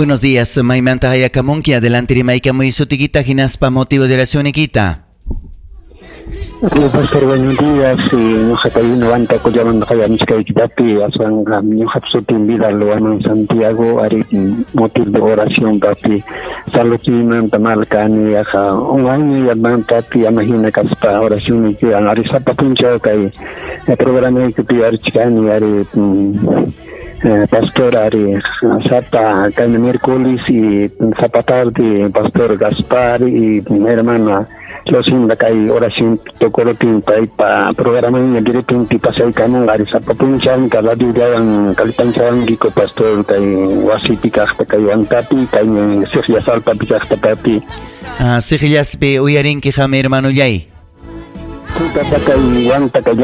Buenos días, maymanta hayakamunki, adelante rimaykamuy sutikita hinaspa motivo de oracionikita. Pastor, buenos días. Ñuqa kay Huantacollamanta qayamuchkayki papi, aswanqa ñuqap sutin Vidal Huamán Santiago, ari motivo de oración papi. Saludniymanta mal kani, yaqa un año yaman papi, ama hina kaspa oracionniykiwan ari sapa punchaw kay programaykipi yuyarichkani ari pastor ari sapa kay miércoles y sapa tarde pastor Gaspar y hermana Lucinda kay oración tukurutin paypa programaña directo pasaykamun ari sapa punchawmi kay radiollawan kallpanchawankiku pastor kay wasipi kaqta kay Huantapi kay Siqllas Alpapi kaqta papi. Ah, Siqllaspi uyarinki qam hermanollay. Sí, papa, kay Huanta kay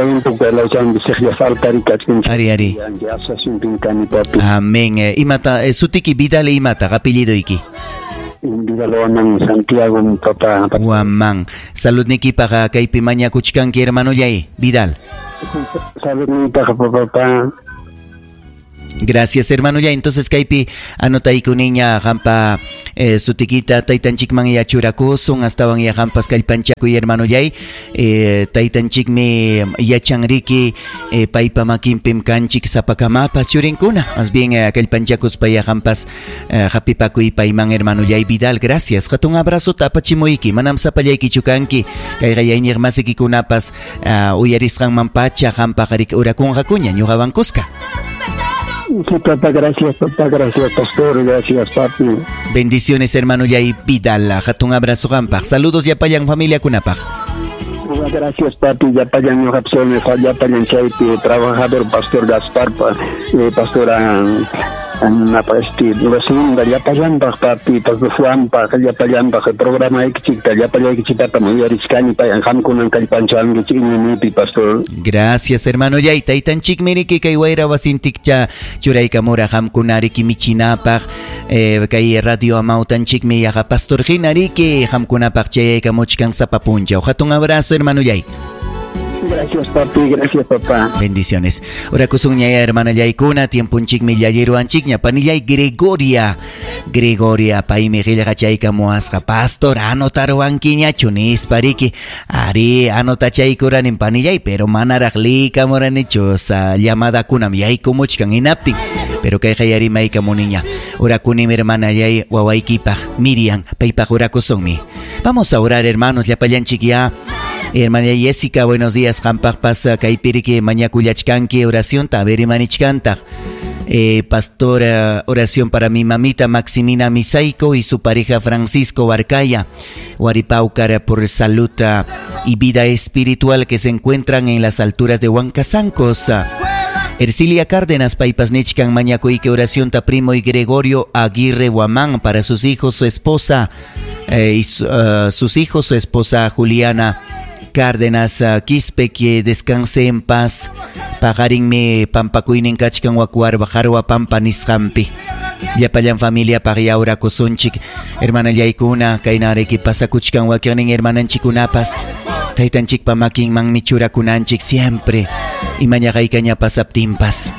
lawchanpi Siqllas Alpari kachkan. Ari, ari. Asociacionpim kani papi. Amén. Imata sutiki Vidal imata apellidoyki. Vidal Huamán Santiago papá. Huamán. Saludnikipaqa kaypi mañakuchkanki hermanollay Vidal. Saludniypaq papá. Gracias, hermano. Ya, entonces, kaypi anotayku niña qampa sutikita taytanchikman ya churakusun astawan ya qampas kallpanchakuy hermanollay taytanchikmi yachanriki paypa makinpim kanchik sapakamapas churinkuna más bien kallpanchakuspa ya qampas hapipakuy payman hermanollay Vidal. Gracias, hatun abrazo apachimuyki, manam sapallaykichu kanki, kayqa iñiq masikikunapas uyarisqanman pacha qampaq orakunqakuña ñuqawan kuska. Sí, papá, gracias, papá, gracias, pastor, gracias, papi. Bendiciones, hermano Yay Vidal. Hatun abrazo qampaq. Saludos llapallan familiakunapaq. Gracias, papi, llapallan ñuqap llapallan chaypi trabajador pastor Gaspar, pastora este Lucinda, llapallanpaq, papi, pastor Juanpaq, llapallanpaq programaykichikta, llapallaykichiktatam uyarichkani, qamkunan kallpanchankichik iñiynipi, pastor. Gracias, hermano Yay. Taytanchikmi riki kay wayra wasintikcha churaykamura qamkunariki michinapaq kay radio amawtanchikmi yaqa pastor hina riki qamkunapaq chayaykamuchkan sapa punchaw. Hatun abrazo, hermano Yay. Gracias, papi, gracias, papá. Bendiciones. Orakusun ñaya hermana yaykuna, tiempunchikmi llallirwanchikña, panillay Gregoria. Gregoria, paymi qillqachaykamuwasqa. Pastor, anotarwankiñachu nispa riki. Ari, anotachaykurani panillay, pero manaraq liykamuranichu sa llamadakunam yaykumuchkan hinaptin. Pero kayqa yarimaykamuniña. Orakunim hermana yay wawaykipaq, Miriam, paypaq orakusunmi. Vamos a orar, hermanos, llapallanchik ya. Hermana Jessica, buenos días. Qampaqpas kaypiriki mañakullachkanki oracionta, a ver imanichkantaq. Pastor, oración para mi mamita Maximina Misaico y su pareja Francisco Barcaya. Huaripaucar por salud y vida espiritual que se encuentran en las alturas de Huancasancos. Ercilia Cárdenas, paypas nichkan mañakuyki oración ta primo y Gregorio Aguirre Huamán para sus hijos, su esposa y sus hijos, su esposa Juliana Cárdenas Quispe, que descanse en paz. Paqarinmi pampakuynin kachkan wakuarba jarwa pampa nisqampi. Llapallan familia paq orakusunchik. Hermana yaykuna, kaynariki pasakuchkan wakiqnin hermananchikunapas. Taytanchikpa makinmanmi churakunanchik siempre. Imañaqaykaña pasaptinpas.